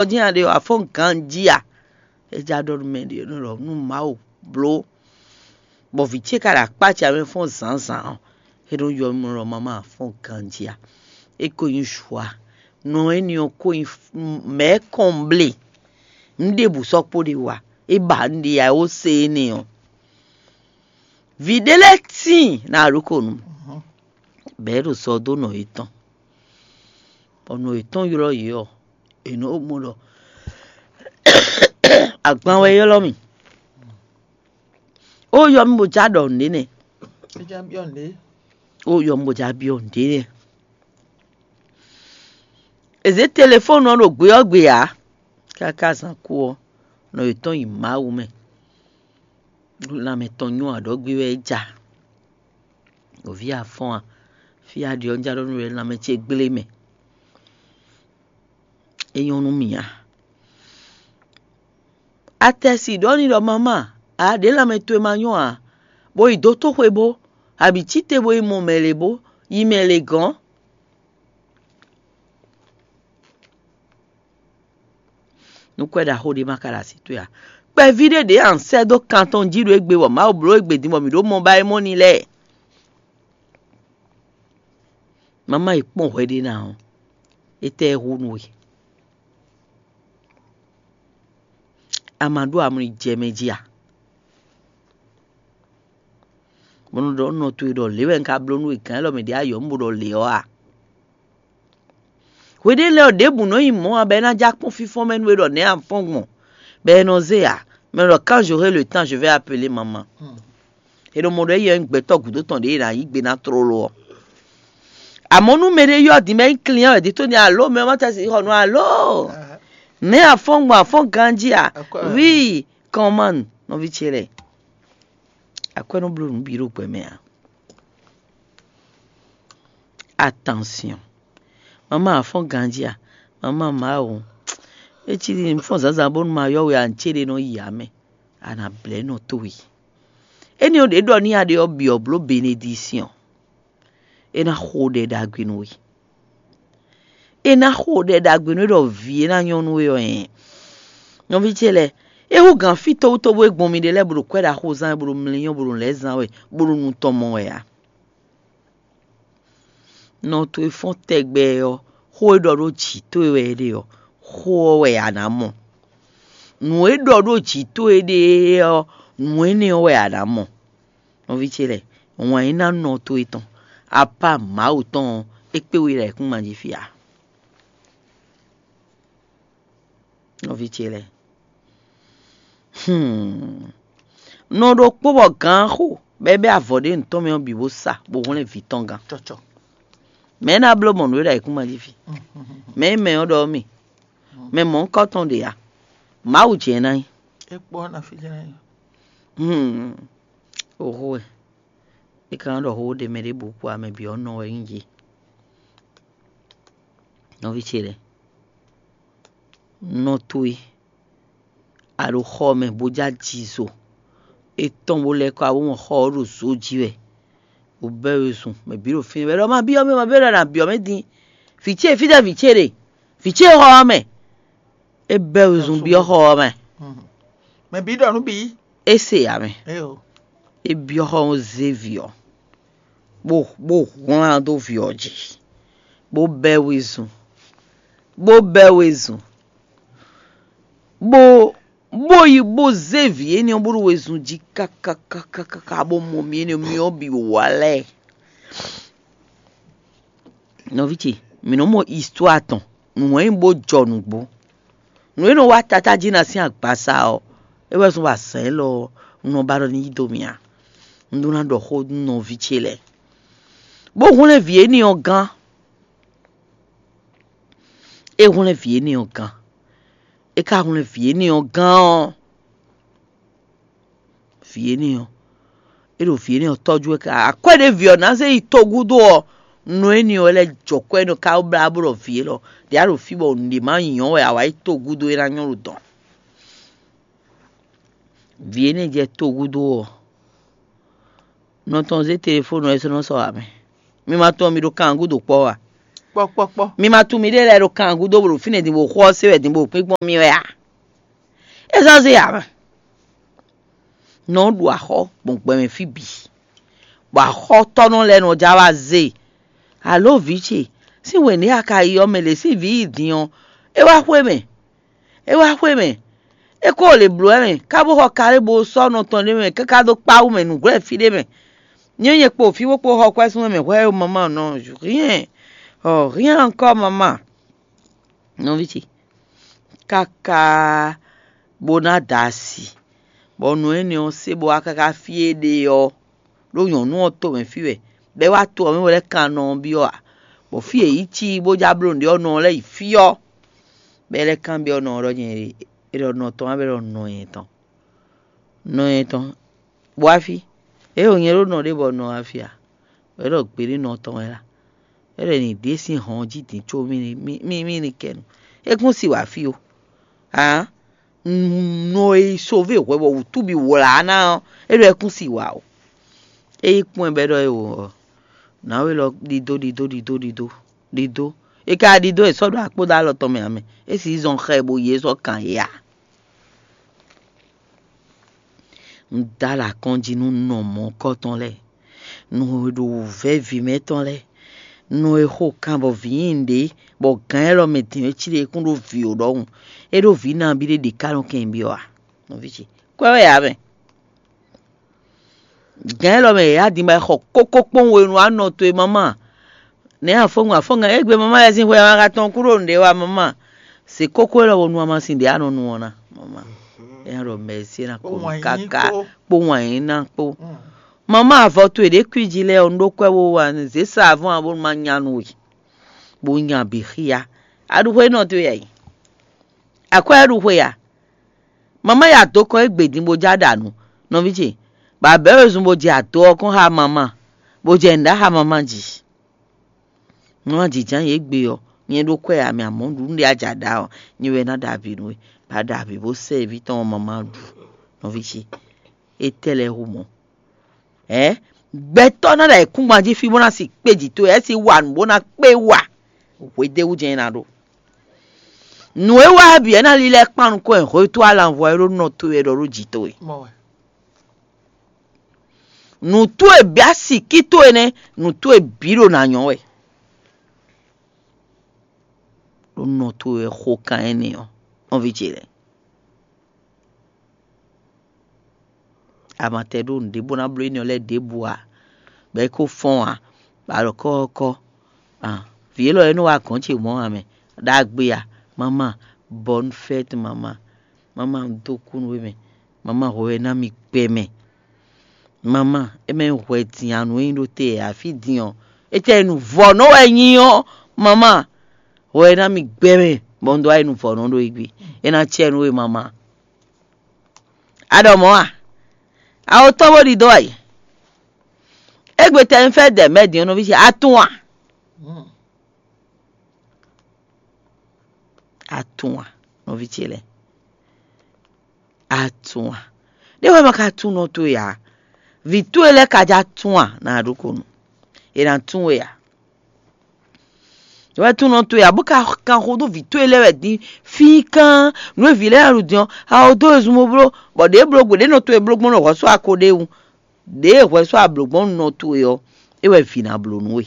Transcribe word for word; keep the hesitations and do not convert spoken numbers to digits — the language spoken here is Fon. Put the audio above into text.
Ɔ́ jɛ́n a ɖe ɔ́, a fɔ́n ganjí a? É já ɖɔ nú mɛ ɖě nɔ ɖɔ nú Mawu bló, bɔ vǐ ce ka ɖo akpá ce mɛ fɔ́n zǎnzǎn ɔ́, é nɔ ylɔ́ mì ɖɔ mama a fɔ́n ganjí a? É ko nyí zhuá, nɔ énɛ́ ɔ́ ko nyí mɛ̌ kɔnblé. Un ɖěbǔ sɔ́ kpó ɖe wá, é ba un ɖe ǎ, é wó se énɛ́ ɔ́. Vǐ ɖé lɛ́ɛ tíin ná ɖokonu, bɔ é ɖo sɔ dó nɔ yětɔn, bɔ nɔ yětɔn ylɔ́ yě ɔ́, è nɔ mɔ ɖɔ agban wɛ ylɔ́ mì. Ó ylɔ́ mì bó já ɖɔ nǔɖé nɛ́. É já byɔ́ nǔɖé. Ó ylɔ́ mì bó já byɔ́ nǔɖé nɛ́. È zě telefɔ́nu ɔ́ ɖo gbe ɔ́ gbe ǎ. Káká zán kú ɔ́, nɔ yětɔn yi Mawu mɛ. Lanmɛ tɔn nyɔ́ aɖɔ̌gbé wɛ é ja. Nɔví a fɔ́n a? Fí a ɖi ɔ́, un já ɖɔ nú we lanmɛ ce gblé mɛ. É nyɔ́ nú mì a? Atɛsi ɖɔ n'i ɖɔ mama, a ɖě lanmɛ towe ma nyɔ́ ǎ, bó yi dó tóxwe bó, abǐ cí te bó yi mɔ mɛ lě bó, yi mɛ lě gɔ́n. Nú kwɛ́ ɖaxó ɖé ma ka ɖo así towe ǎ. Kpɛví ɖé ɖě a nǎ sɛ́ dó kan tɔn jí ɖo égbé bɔ Mawu bló égbé din bɔ mǐ ɖó mɔ ba é mɔ n'i lɛ́ɛ. Mama yi kpɔ́n hwɛ ɖé ná ɔ́, étɛ́ ɛ hu nú we? A ma ɖó amlɔ yi jɛ mɛ jí a? Bó nɔ ɖɔ nɔ towe ɖɔ lě wɛ un ka bló nú we gǎn élɔ́ mɛ ɖě ayɔ̌ un bo ɖɔ lě ɔ́ a? Hweɖé lɛ́ɛ ɔ́, ɖěbǔ nɔ nyi mɔ̌ ǎ bɔ é ná já kpɔ́n fínfɔ́n mɛ nú we ɖɔ nɛ̌ a fɔ́n gbɔn, bɔ è nɔ zé ǎ. Mɛ ɖɔ quand j'aurai le temps, je vais appeler maman. É ɖo mɔ ɖɔ éyɛ́ nyí gbɛtɔ́ gǔdo tɔn ɖě e è nǎ yí gbe ná tlóló ɔ́. Amɔ̌ nú mɛɖé ylɔ́ din bɔ é nyí client wɛ, dǐtó ní alo mɛ ɔ́ ma tɛ́ sí xɔ nú alo. Nɛ̌ a fɔ́n gbɔn a fɔ́n ganjí a? Vǐ kɔnman nɔví ce lɛ́ɛ. Akwɛ́ nɔ bló nǔ bǐ ɖo gbɛ mɛ ǎ. Attention. Mama a fɔ́n ganjí a? Mama Mawu. É cí ɖi un fɔ́n zǎnzǎn bónú ma ylɔ́ we a, nǔ ce ɖé nɔ yi ǎ mɛ. A nǎ blɛ́ nɔ towe. Énɛ́ ɔ́ ɖě ɖɔ n'i a ɖe ɔ́ byɔ̌ bló benedisyɔn. É ná xo ɖɛ ɖagbe nú we. É ná xo ɖɛ ɖagbe nú we ɖɔ vǐ e ná nyɔ́ nú we ɔ́ hɛn. Nɔví ce lɛ́ɛ, é hú gǎn fí towútowú e gbɔn mi ɖe lɛ́ɛ bó ɖo kwɛ́ ɖaxó zán wɛ, bó ɖo mlɛ́nyɔ́, bó ɖo lɛ̌ zán wɛ, bó ɖo nu tɔn mɔ wɛ ǎ. Nɔ towe fɔ́n tɛgbɛ ɔ́, xó e ɖɔ ɖó jǐ towe wɛ é ɖe ɔ́, xó ɔ́ wɛ a nǎ mɔ. Nǔ e ɖɔ ɖó jǐ towe ɖe ɔ́, nǔ énɛ́ ɔ́ wɛ a nǎ mɔ. Nɔví ce lɛ́ɛ, wǎn e ná nɔ towe tɔn, apá Mawu tɔn ɔ́, é kpé we ɖo ayǐkúngban jí fí ǎ. Nɔví ce lɛ́ɛ, hmm. Nɔ ɖokpó bɔ gǎn xo, bɔ é bɛ́ avɔ ɖé nǔtɔn mɛ ɔ́ bǐ bó sa, bó hwlɛ́n vǐ tɔn gán. Cɔcɔ. Mɛ̌ ná bló mɔ nǔ e ɖo ayǐkúngban jí fí? Mɛ̌ mɛ ɔ́ ɖɔ mì? Mɛ mɔ̌hunkɔtɔn ɖě a? Mawu jɛ́n ná nyí. É kpɔ́ ná fí jɛ́n ná nyí. Hmm. Oxó wɛ. É ka nɔ ɖɔ xó ɖé mɛ ɖěbǔ kpó amɛ bǐ ɔ́ nɔ wɛ nyí yě. Nɔví ce lɛ́ɛ, nɔ towe, a ɖo xɔ mɛ bó já ji zo. É tɔ́n bó lɛ́ kɔ abó mɔ xɔ ɔ́ ɖo zǒ jí wɛ. Bó bɛ́ we zun, mɛ bǐ ɖo fínɛ́ wɛ ɖɔ ma byɔ́ mɛ, ma byɔ́ ɖɔ nǎ byɔ́ mɛ din. Vǐ ce, fítɛ́ vǐ ce ɖe? Vǐ ce xɔ ɔ́ mɛ. É bɛ́ we zun byɔ́ xɔ ɔ́ mɛ. Mɛ bǐ ɖɔ nú bǐ. É se ǎ mɛ. É byɔ́ xɔ ɔ́ zé vǐ ɔ́, bó bó hwlán dó vǐ ɔ́ jí, bó bɛ́ we zun, bó bɛ́ we zun, bó bó yi bó zé vǐ énɛ́ ɔ́ bó ɖo wezun jí káká káká káká bó mɔ mì énɛ́ ɔ́, mì ɔ́ bǐ wá lɛ́ɛ. Nɔví ce, mǐ nɔ́ mɔ histoire tɔn, nǔ e nyí bó jɔ nǔgbó. Nǔ e nɔ wá tatájí ná sín agbasa ɔ́, é wɛ zɔ́n bɔ azǎn élɔ́ ɔ́, un nɔ ba ɖɔ ní yí dó mì ǎ. Un ɖó ná ɖɔ xó nú nɔví ce lɛ́ɛ, bó hwlɛ́n vǐ énɛ́ ɔ́ gán. É hwlɛ́n vǐ énɛ́ ɔ́ gán. É ka hwlɛ́n vǐ énɛ́ ɔ́ gán ɔ́, vǐ énɛ́ ɔ́, é ɖo vǐ énɛ́ ɔ́ tɔ́jú wɛ káká. Akwɛ́ ɖé vǐ ɔ́ ná zé yi togúdo ɔ́, nɔ énɛ́ ɔ́ lɛ́ jɔ kwɛ́ nɔ ká blá bó ɖɔ vǐ élɔ́ ɖě a ɖo fí bɔ nǔɖé má nyɔ́ wɛ a wǎ yi togúdo é ná nyɔ́ ɖo dɔ̌n. Vǐ énɛ́ jɛ togúdo ɔ́, nɔ tɔn zé telefónu ɔ́ é sɔ́ nɔ sɔ́ ǎ mɛ. Mi ma tunwun mi ɖo kan gúdo kpɔ́ a? Kpɔ́kpɔ́kpɔ́. Mi ma tunwun miɖée lɛ́ɛ ɖo kan gúdo bó ɖo fínɛ́ din bó xo ɔ́ se wɛ din bó kpínkpɔ́n mì wɛ a? É zɔ́n zé ǎ mɛ. Nɔ ɖu axɔ́ gbɔn gbɛ mɛ fí bǐ, bɔ axɔ́tɔ́nɔ lɛ́ɛ nɔ já wá zé e. Alǒ vǐ ce, sín wěné a ka yi ɔ́, mɛ lě sín vǐ yi din ɔ́, é wá xwé mɛ. É wá xwé mɛ. É ko lě bló wɛ mɛ, kábó xɔ kaɖé bó sɔ́ nɔ tɔn ɖé mɛ káká dó kpá wú mɛ nǔglɛ́ fí ɖé mɛ. Nyɛ nyɛ kpo fí bó kpo xɔ kwɛ́ sún mɛ hwɛ ɔ́, mamá nɔ rien, ɔ rien encore mamá. Nɔví ce, káká bó ná da asi, bɔ nǔ énɛ́ ɔ́ se bó wá káká fí e ɖe ɔ́, ɖó nyɔ̌nu ɔ́ tomɛ fí wɛ, bɔ é wá to ɔ́ mɛ bó lɛ́ kan nɔ ɔ́ byɔ́ ǎ, bɔ fí e yě yi cí bó já bló nǔɖé ɔ́, nɔ ɔ́ lɛ́ yi fí ɔ́, bɔ é lɛ́ kanbyɔ́ nɔ ɔ́ ɖɔ nyɛ é ɖɔ nɔ tɔn wá bɔ é ɖɔ nɔ nyɛ tɔn. Nɔ nyɛ tɔn, bɔ wá fí. É ɖo nyɛ ɖó nɔ ɖé bɔ nɔ wá fí ǎ, bɔ é ɖɔ gbeɖé nɔ tɔn wɛ lá. É ɖɔ ni ɖě sín hɔn jí din có mì ní mì mì ní kɛ nu. É kún si wǎ fí ó. Ǎ, nɔ e yi sové hwɛ bɔ wǔtú bǐ wlǎ ná ɔ́, é ɖɔ é kún si wǎ ó. É yi kpɔ́n ɛ bɔ é ɖɔ é wǒ ɔ́, nǎwe lɔ ɖidó ɖidó ɖidó ɖidó ɖidó. É ka ɖidó è sɔ́ ɖo akpódó alɔ tɔn mɛ ǎ mɛ. É sì zɔn xɛ bo yě sɔ́ kan yě ǎ. Un dó alɔ akɔ́njí nú nɔ mɔ̌kɔ́tɔn lɛ́ɛ, nɔ e ɖo wǔvɛ́ vǐ mɛtɔn lɛ́ɛ, nɔ e xo kan bɔ vǐ nyi nǔɖé, bɔ gǎn élɔ́ mɛ din é cí ɖe é kún ɖó vǐ ó ɖɔhun. É ɖó vǐ nabí ɖé ɖě ká nɔ kɛn byɔ́ ǎ. Nɔví ce, kwɛ́ wɛ ǎ mɛ. Gǎn élɔ́ mɛ yě adin bɔ è xɔ kókó kpɔ́n we nú anɔ towe mama. Nɛ̌ afɔ́ngun afɔ́ngan égbé mama lɛ́ɛ sín hwɛ ma ka tɔn kú ɖo nǔɖé wa mama. Se kókó élɔ́ wo nu amasin ɖě a nɔ nu ɔ́ ná mama. É nɔ ɖɔ mɛ̌si ná kó nu káká kpó wǎn yín ná kpó. Mama avɔ towe ɖě kwíji lɛ́ɛ ɔ́, un ɖó kwɛ́ wo wa zě sa avɔ́n ǎ bónú ma nya nú we, bó nya bǐ xíyá. A ɖu xwé nɔ towe a yi? Akwɛ́ a ɖu xwe a? Mama ya dó kɔn égbé din bó já ɖa nǔ, nɔví ce, bɔ a bɛ̌ wezun bó jɛ ado ɔ́ kɔn xá mama, bó jɛ nǔ ɖá xá mama jí. Nú a jǐjǎn yě gbe ɔ́, nyɛ ɖó kwɛ́ a mì amɔ̌ ɖu nǔɖé a ja ɖa ɔ́, nyɛ wɛ ná ɖa avǐ nú we, bɔ a ɖa avǐ bó sɛ́ vǐ tɔn ɔ́ mama ɖu, nɔví ce. Étɛ́ lɛ́ɛ hu mɔ̌? Ɛ̌, gbɛtɔ́ ná ɖo ayǐkúngban jí fí bó ná si kpé jǐ towe, é si wa nǔ bó ná kpé wa. Hwedéwú jɛ́n é ná ɖó. Nǔ e wa bǐ é ná lílɛ́ kpan nukɔn e hwetó alanvɔ e ɖó nɔ towe wɛ ɖɔ ɖó jǐ towe. Nǔ towe bǐ asíkí towe nɛ́, nǔ towe bǐ ɖo ná nyɔ́ wɛ. Ɖó nɔ towe wɛ xo kan énɛ́ ɔ́, nɔví ce lɛ́ɛ. A ma tɛ ɖó nǔɖé bó ná bló énɛ́ ɔ́ lɛ́ɛ ɖěbǔ ǎ, bɔ é ko fɔ́n ǎ, bɔ a ɖɔ kɔ́ ɔ́ kɔ́. Vǐ élɔ́ e nɔ wá gɔ̌n ce mɔ̌ ǎ mɛ, ɖagbe a? Mama, bonne fête mama. Mama, un dó kú nú we mɛ. Mama, hwɛ wɛ ná mi gbɛ mɛ. Mama, é mɛ hwɛ din anu e nyí ɖó te ǎ fí din ɔ́, étɛ́ e nu vɔ̌ nɔ wɛ nyí ɔ́, mama, hwɛ wɛ ná mi gbɛ mɛ, bɔ un dó wá yi nu vɔ̌ nɔ ɖó égbé. É ná cɛ nú we mama. A ɖɔ mɔ̌ a? A wo tɔ́ bó ɖidó a yi. Égbé tɛ un fɛ́ dɛ mɛ din ɔ́ nɔví ce, a tunwun a? A tunwun a, nɔví ce lɛ́ɛ? A tunwun a? Ɖé wɛ ma ka tunwun nɔ towe ǎ. Vǐ towe lɛ́ɛ ka já tunwun a? Na ɖokonu. È nǎ tunwun we ǎ. Wɛ tunwun nɔ towe ǎ, bó ka kan xo dó vǐ towe lɛ́ɛ wɛ din fínkán. Nǔ e vǐ lɛ́ɛ ɖu din ɔ́, a wo dó wezun bó bló, bɔ ɖě bló gbe ɖě nɔ towe bló gbɔn nɔ hwɛ̌ sɔ́ ako ɖ'é wú. Ɖěe hwɛ sɔ́ a blǒ gbɔn nɔ towe ɔ́, é wɛ vǐ ná bló nú we.